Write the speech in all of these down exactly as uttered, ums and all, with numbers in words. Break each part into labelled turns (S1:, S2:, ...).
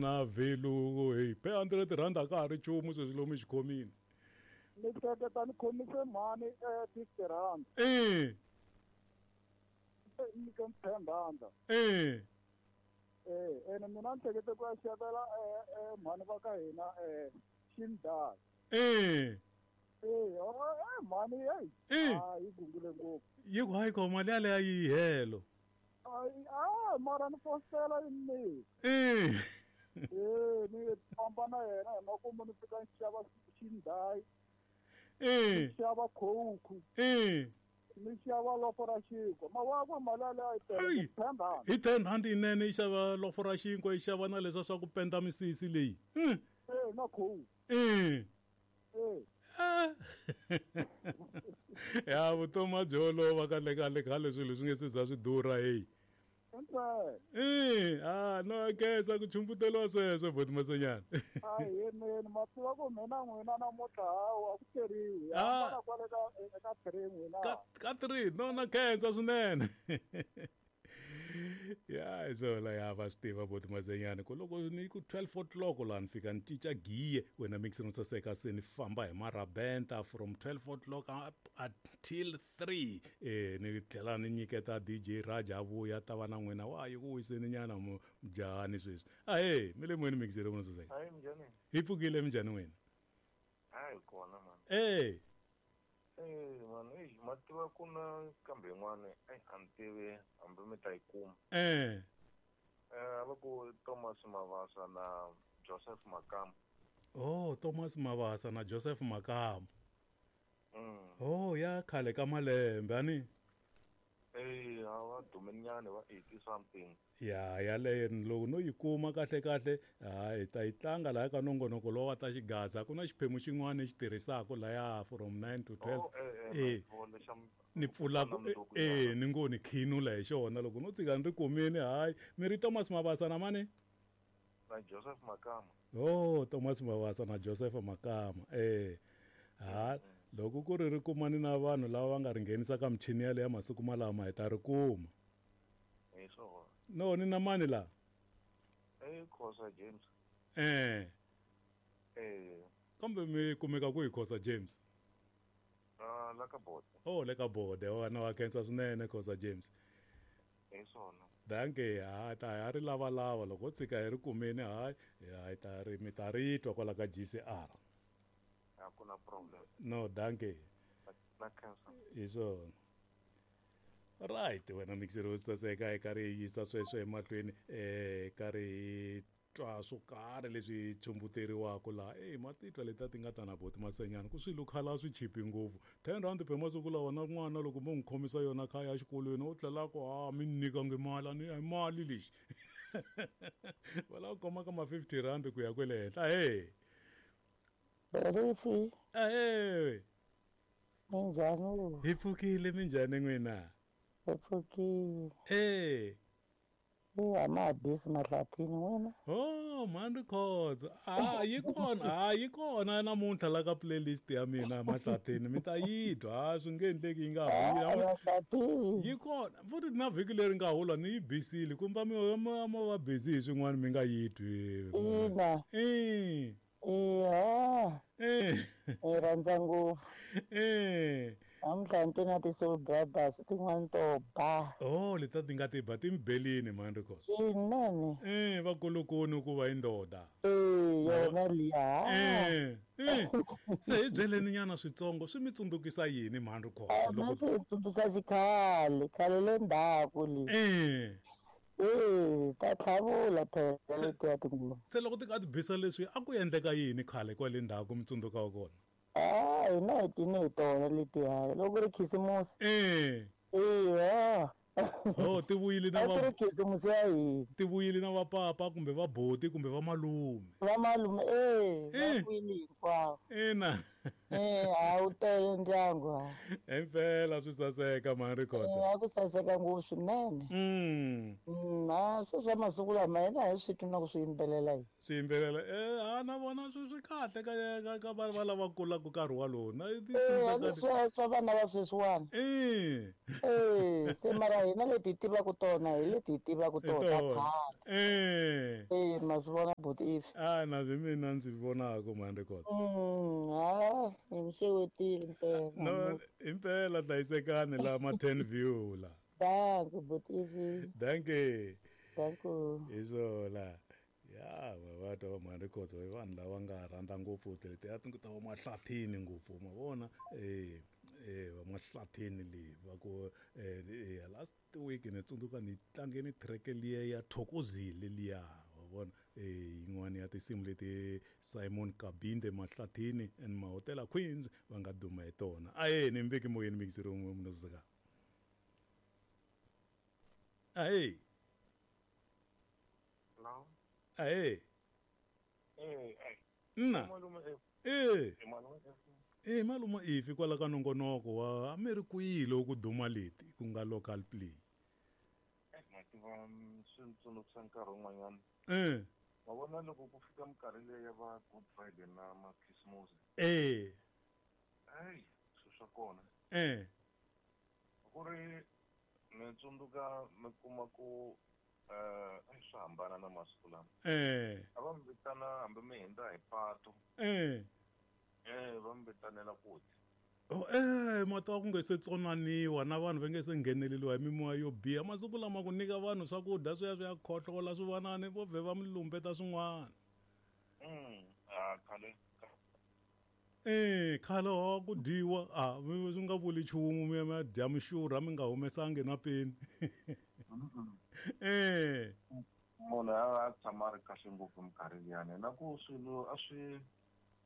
S1: Na value hey pe hundred rand a ka ha ri nchumu sweswi lomu xikhomini.
S2: Ni hleketa ni khomise mhani eh fifty rand.
S1: Eh.
S2: Ni nyike ten rand.
S1: Eh.
S2: Eh, ene mina ni hlekete ku ya xavela eh eh mhani va ka hina eh xindhawu.
S1: Eh.
S2: Eh, oh, mhani hey.
S1: Eh.
S2: Ah, yi gungule ngopfu.
S1: Yi ku hayi ko mali yaleyo yi helo.
S2: Ai, ah, mara ni fosela ni.
S1: Eh.
S2: Eh, ni famba na yena hi makumu ni fika ni xava xindhayi.
S1: Eh.
S2: Ni xava coke.
S1: Eh.
S2: Ni xava lofo ra xinkwa. Mawakwe mali yaleyo yi tele ten rand.
S1: Hi ten rand yinene yi xava lofo ra xinkwa yi xava na leswa swa ku penda misisi leyi.
S2: Mm. Eh, na coke.
S1: Eh.
S2: Eh.
S1: Ya vutomi a byi olova kahle kahle khale swilo swi nge se za swi durha hey. Eh, ah no khensa ku chumbuteriwa sweswo boti Masenyana.
S2: Ahee mina ma tiva ku mina n'wina namuntlha hawa ku teriwi. Hambana kwale ka eka three n'wina.
S1: Ka ka three no na khensa swinene. Ya hi swona ya va swi tiva boti Masenyana ku loko ni ku twelve o'clock laha ni fika ni cinca giye wena mixer no saseka se ni famba hi marabenta from twelve o'clock up until three eh ni tlhela ni nyiketa D J Raja vuya ta va na n'wina wa yi ku wiseni nyana mujahani sweswi. Ahee mi le moyeni mixer no saseka.
S3: Hayi minjhani?
S1: Hi pfukile minjhani wena?
S3: Hayi kona man.
S1: Eh.
S3: Eh man, eh ma tiva ku na kambe yin'wana eh a ni tivi hambi mi ta yi kuma.
S1: Eh.
S3: Eh va ku Thomas Mavasa na Joseph Makamba.
S1: Oh, Thomas Mavasa na Joseph Makamba.
S3: Mm.
S1: Oh, ya khale ka malembe ani.
S3: Eh, a va dumenyana va eighty something.
S1: Ya yaleyo loko no yi kuma kahle kahle hayi ta yi tlanga laha ka nongonoko lowa ta xigaza ku na xiphemu xin'wana xi tirhisaka laya from nine to twelve.
S3: Oh, eh, eh,
S1: ni pfula eh ni ngo ni khinula hi xona loko no tsika ni ri kumini hayi mi ri Thomas Mavasa na mani
S3: na Joseph Makama.
S1: Oh, Thomas Mavasa na Joseph Makama. Eh ha loko ku ri ri kumani na vanhu lava va nga ri nghenisa ka michini yaleyo ya masiku malama hi ta ri kuma.
S3: Hi swona.
S1: No ni na mani la?
S3: Eh Khosa James.
S1: Eh.
S3: Eh.
S1: Kambe mi kumeka ku hi Khosa James?
S3: Ah, la ka bode.
S1: Oh, le ka bode. Wa na wa khensa swinene Khosa James.
S3: Hi swona.
S1: Danke, ha ta ya ri lava lava loko tsika hi ri kumeni hayi hi ta ri mi ta ri twa kwala ka G C R.
S3: A ku na problem.
S1: No, danke.
S3: Na khensa.
S1: Hi swona. Right, wena mixer wo saseka eka ri yisa sweswo emahlweni eh ka ri twa swo karhi leswi chumbuteriwaka laha eh matitwa leti ti nga ta na boti Masenyana ku swilo khala swi chipi ngopfu ten rand pe masiku lawa na n'wana loko mo n'wi khomisa yona kha ya xikolweni u tlhela ku ha mi nyikangi mali a ni a mali lexi va lava ku khoma ka ma fifty rand ku ya kwele henhla. Ahee
S4: Rifi.
S1: Ahee.
S4: Minjhani?
S1: Hi pfukile minjhani n'wina?
S4: Hi pfukile.
S1: Eh.
S4: Eh, a ma ha bisi Mahlathini n'wina.
S1: Oh, mhani Khotso. Ah, yi kona, ah yi kona namuntlha la ka playlist ya mina Mahlathini mi ta yi twa, ah swi nge endleki yi nga
S4: ha Mahlathini.
S1: Yi kona, futhi na vhiki leri nga hula ni yi bisile kumbe mi ma va busy hi swin'wana mi nga yi twi.
S4: Ina.
S1: Eh.
S4: Iya.
S1: Eh.
S4: Ni rhandza ngopfu.
S1: Eh.
S4: Namuntlha ni na ti-Soul Brothers tin'wana to ba.
S1: Oh, leti ti nga ti ba ti mbelini mhani Khotso.
S4: Swinene.
S1: Eh, vakulukuni ku va i ndoda.
S4: Eh, yona liya.
S1: Eh. Eh. Se hi byeleni nyana switsongo swi mi tsundzukisa yini mhani Khotso
S4: loko swi tsundzuka xikhale, khale le ndzhaku le.
S1: Eh.
S4: Eh, ta tlhavula phela letiya tinguva.
S1: Se loko ti ka ti bisa leswi a ku endleka yini khale kwale ndzhaku mi tsundzuka kona?
S4: Ah, hina hi cine hi tona letiya loko ri khisimusi.
S1: Eh.
S4: Eya.
S1: Oh, ti vuyile na
S4: va ri khisimusi ya hina.
S1: Ti vuyile na vapapa kumbe vaboti kumbe vamalume.
S4: Vamalume eh, va vuyile hinkwavo.
S1: Ina.
S4: Eh a wu tele ndyangu.
S1: Impela swi saseka mhani Rikhotso.
S4: A ku saseka ngopfu swinene.
S1: Mm.
S4: Mm, a swi swa masiku lama hina hi swi twi na ku swi yimbelela hi.
S1: Swi yimbelela eh a na vona swi swi kahle ka ka ka vanhu va lava kulaka nkarhi walowo. Na
S4: Eh swa swa vana va sweswiwani.
S1: Eh.
S4: Eh se mara hina leti hi tivaka tona hi leti hi tivaka tona ta khale.
S1: Eh.
S4: Eh ma swi vona buti Ivi.
S1: A na swi mina ndzi vonaka mhani Rikhotso.
S4: Mm, ha hi mi xewetile impela.
S1: No impela hlayisekani la ma ten view la.
S4: Dankie buti Ivi.
S1: Dankie.
S4: Dankie.
S1: Hi swona. Ya va twa mhani Rikhotso i vanhu lava nga rhandza ngopfu letiya ta va mahlathini ngopfu ma vona eh eh va mahlathini leyi va ku eh last week ni tsundzuka ni tlangeni track liya ya Thokozile liya wa vona eh yin'wana ya tinsimu leti Simon Kabinde Mahlathini and Mahotela Queens va nga duma hi tona. Aye ni mbeki moyeni mixer un'we munozika. Aye.
S3: Hello.
S1: Aye.
S3: Eh eh.
S1: Nna.
S3: Eh.
S1: Eh malume Ifi kwala ka nongonoko wa Amerikuyile ku duma leti ku nga local play.
S3: Eh mativa swi tsundzuxa nkarhi wun'wanyana.
S1: Eh.
S3: Wa vona loko ku fika minkarhi leyi ya va Good Friday na ma Christmas.
S1: Eh.
S3: Hey, swi swa kona.
S1: Eh.
S3: Ku ri ni tsundzuka mi kuma ku eh swi hambana na masiku lama.
S1: Eh.
S3: A va mi vitana hambi mi hundza hi pato.
S1: Eh.
S3: Eh va mi vitanela ku dya.
S1: Oh eh mata ku nge se tsonaniwa na vanhu va nge se ngheneleliwa hi mimoya yo biha masiku lama ku nyika vanhu swakudya swi ya swi ya khohlola swi vanani vo vhe va mi lumbeta swin'wana.
S3: Mm, a khale.
S1: Eh khale wa ku dyiwa a swi nga vuli nchumu mi ya mi ya dya mixurha mi nga humesangi na peni. Eh.
S3: Munhu a tshama a ri kahle ngopfu minkarhi liyani na ku swilo a swi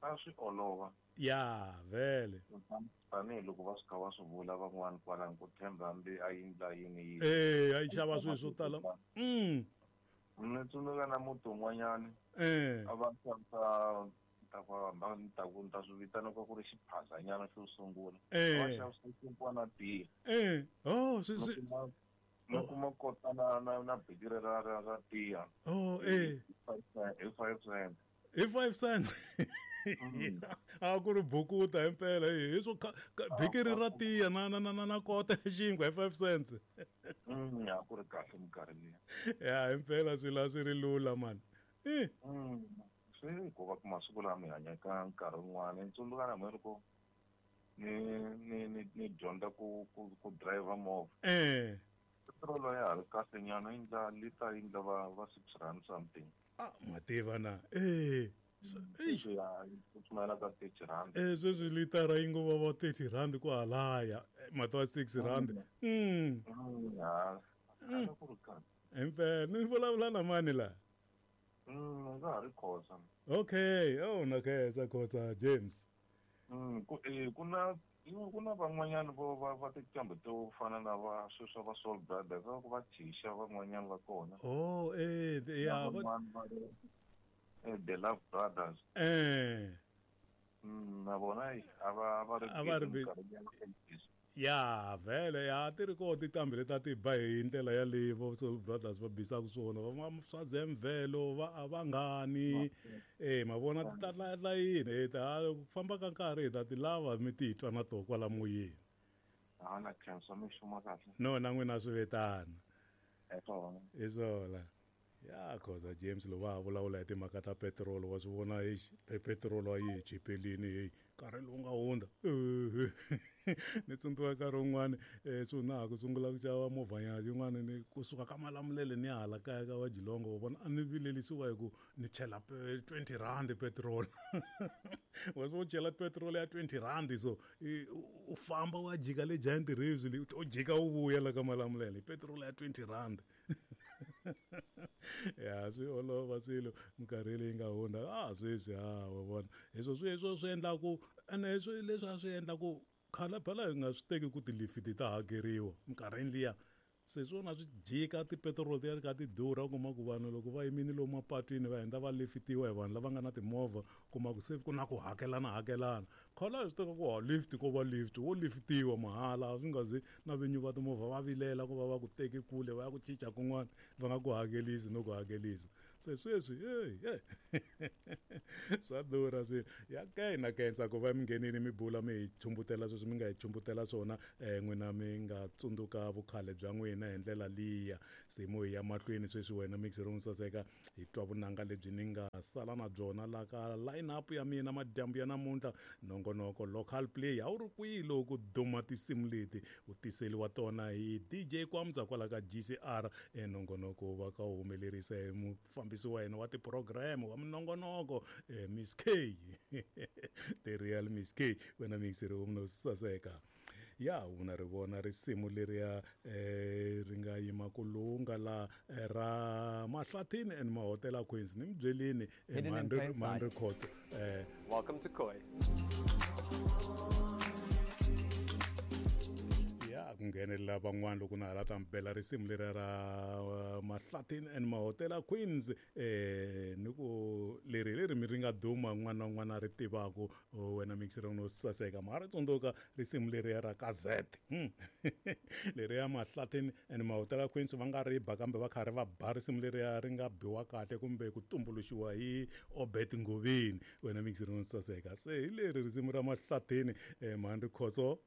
S3: a swi olova.
S1: Ya vele.
S3: Tanihiloko va swi kha va swi vula van'wani kwalano ku tshemba hambi a yindla yini yini.
S1: Eh a yi xava swilo swo tala. Mm.
S3: Ni tsundzuka na muti wun'wanyani.
S1: Eh.
S3: A va xavisa ta ku hamba ni ta ku ni ta swi vitana ku ku ri xiphazanyana xo sungula.
S1: Eh.
S3: Va xavisa xinkwa na tiya.
S1: Eh. Oh swi swi
S3: mi kuma kota na na na bikiri ra ra ra tiya.
S1: Oh eh.
S3: Hi five cent.
S1: Hi five cent. A ku ri bukuta impela hi swo bikiri ra tiya na na na na kota xinkwa hi five cents.
S3: Mm, ya ku ri kahle minkarhi liya.
S1: Ya impela swi la swi ri lula man. Eh.
S3: Mm. Swi ku va ku masiku lama hi hanya ka nkarhi wun'wana ni tsundzuka na mina loko ni ni ni ni dyondza ku ku ku driver movha.
S1: Eh.
S3: Petrol ya ha ri kahle nyana yi ndla lita yi ndla va va six rand something.
S1: Ah mativa na. Eh.
S3: Sweswi ya ku pfumela ka thirty rand.
S1: Eh sweswi litara yi ngo va va thirty rand ku halaya mati wa six rand. Mm.
S3: Ya. A ku ri kahle.
S1: Impela ni vulavula na mani la?
S3: Mm, nga ha ri Khosa.
S1: Okay, oh na khensa Khosa James.
S3: Mm, ku eh ku na ku na van'wanyana vo va va tinqambi to fana na va sweswi va Soul Brothers va ku va Tisha van'wanyana va kona.
S1: Oh eh ya
S3: va eh The Love Brothers.
S1: Eh.
S3: Mm, na vona a va va ri
S1: a va ri ya vele ya ti ri kona tinqambi leti a ti ba hi ndlela yaleyo vo Soul Brothers va bisaka swona va swa Zemvelo va a va ngani eh ma vona ti ta layini eh ta ku famba ka nkarhi hi ta ti lava mi titwa na to kwala moyeni.
S3: A na khensa mi xuma kahle.
S1: No na n'wina swi vetana.
S3: Hi swona.
S1: Hi swona. Ya Khosa James lo va vulavula hi timhaka ta petrol wa swi vona exi petrol a yi chipelini hey nkarhi lowu nga hundza. Ni tsundzuka nkarhi wun'wani swi na ha ku sungula ku xava movha ya yin'wana ni kusuka ka Malamulele ni ya hala kaya ka va Jilongo wa vona a ni vilelisiwa hi ku ni chela twenty rand petrol. Wa swi chela petrol ya twenty rand so u famba wa jika le Giant Reeves le u jika u vuya la ka Malamulele petrol ya twenty rand. Ya swi olova swilo minkarhi leyi nga hundza a sweswi ha wa vona hi swo sweswo swi endla ku ene swi leswi a swi endla ku khale phela hi nga swi teki ku tilifiti ta hakeriwa minkarhini liya Se swona swi jika tipetiroli ti ya ka ti durha, u kuma ku vanhu loko va yimile lomu mapatwini va hundza va lifitiwa hi vanhu lava nga na timovha, kuma ku se ku na ku hakelana hakelana. Khale a hi swi tiva ku ha lift ko va lift wo liftiwa mahala, swi nga zi na vinyi va timovha va vilela ku va va ku teki kule va ya ku cinca kun'wana va nga ku hakelisi no ku hakelisa. Se sweswi hey, hey. Swa durha swilo. Ya ke na khensa ku va mi nghenile mi bula mi hi chumbutela sweswi mi nga hi chumbutela swona, eh, n'wina mi nga tsundzuka vukhale bya n'wina hi ndlela liya. Se mo hi ya mahlweni sweswi wena mixer ro saseka hi twa vunanga lebyi ni nga sala na byona la ka line up ya mina madyambu ya namuntlha. Nongonoko local play a wu ri kwihi loko duma tinsimu leti u tiseliwa tona hi D J Kwamza kwala ka G C R. E nongonoko va ka wu humelerisa hi mufambisi wa hina wa ti-program wa minongonoko, eh, Miss K. The real Miss K, wena mixer ro saseka. Ya una ri vona risimu leriya, eh, ri nga yima ku lunga la, eh, ra Mahlathini and Mahotela Queens. Ni mi byelini, eh,
S5: Hidden in
S1: Mandri,
S5: plain sight.
S1: Mandri Khotso, eh,
S5: Welcome to Khoi.
S1: Ya ku nghenelela van'wana loko na hala ta mi bela risimu leriya ra, uh, Mahlathini and Mahotela Queens, eh, ni ku leri leri mi ri nga duma un'wana na un'wana a ri tivaku, oh, wena mixer no saseka ma ri tsundzuka risimu leriya ra ka Z. Hmm. Leriya Mahlathini and Mahotela Queens va nga ri ba kambe va karhi va ba risimu leriya ri nga biwa kahle kumbe ku tumbuluxiwa hi Obert Ngoveni, wena mixer no saseka. Se hi leri risimu ra Mahlathini, eh, Mhandri Khotso.